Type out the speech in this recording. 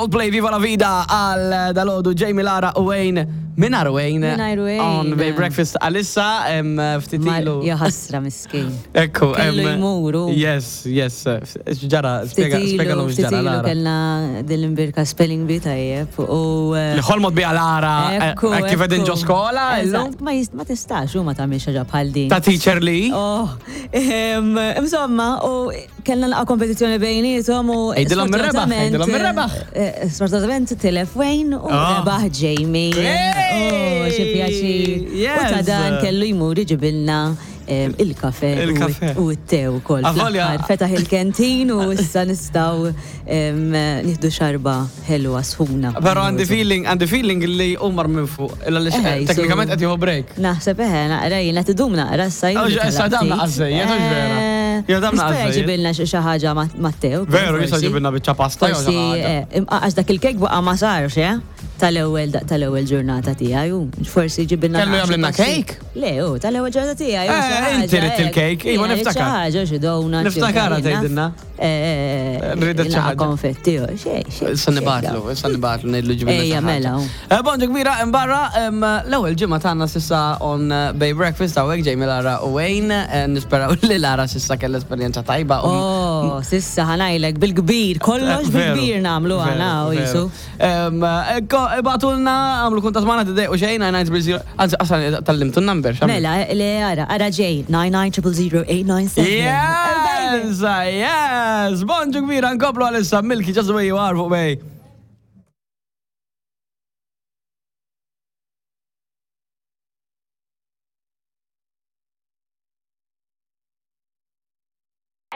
Coldplay Viva la Vida għal dalodu Jamie Lara u Wayne Minar Wayne. Mingħajr Wayne. On Bay Breakfast għalissa ftit ilu. Ja ħasra miskin. Ekku. Kellu jmuru. Yes, yes. X'ġara, spjega spjega x'ġara. Ftit ilu kellna din l-imbirka spelling bee tajjeb u. Eh, li ħolmot biha Lara eh, eh, kif qegħdin ġo skola illum. Ma tistax u ma tagħmilx ħaġa bħal din. Ta' teacher li? Oh, insomma, u Kellna naqa' kompetizzjoni bejniethom u. Għidilhom min rebaħ, għidilhom min rebaħ. Eh, sfortunatament tilef Wayne u ah. rebaħ Jamie. Oh, xi pjaċir. U ta' dan kellu jmur iġibilna il-kafe u t-te u koll. Fetaħ il-kentin u issa nistaw nieħdu xarba ħelwa sħuna. Pero għandi feeling, għandi feeling li umar minn fuq, eh, teknikament qed jieħu break. Naħseb eħe, naqra jiena tidum naqra issa. Oh, issa dam naqra żejjed, vera. Eh, Ja dam naqra. Jista' jġibilna xi ħaġa Matteo. Veru, jista' jġibilna biċċa pasta. Forsi, eh, għax dak il-kek baqa' ma sarx, eh? Tal-ewwel tal-ewwel ġurnata tiegħi u forsi ġibilna. Kellu jagħmlilna cake? Le, u tal-ewwel ġurnata tiegħi. Eh, inti rid il-cake, iva niftakar. Xi ħaġa xi donut. Niftakar tgħidilna. Rridet xi ħaġa. Konfetti, xej, xej. Issa nibatlu, issa nibatlu ngħidlu ġibilna. Ejja, mela. Eh, bonġu kbira, imbarra, l-ewwel ġimgħa tagħna sissa on eh, Bay Breakfast hawnhekk Jamie Lara u Wayne, eh, nisperaw li Lara sissa kellha esperjenza tajba. Oh, sissa ħanajlek bil-kbir, kollox bil-kbir nagħmlu għana u jisu. Ibatulna, għamlu kuntat magħna tidejqu xejn, 990, anzi qasal tallimtu n-number. Mela, le ara, ara ġej, 99000 Yes, yes, bonġu kbira, nkomplu għalissa, Milky, just the way you are fuq Bay.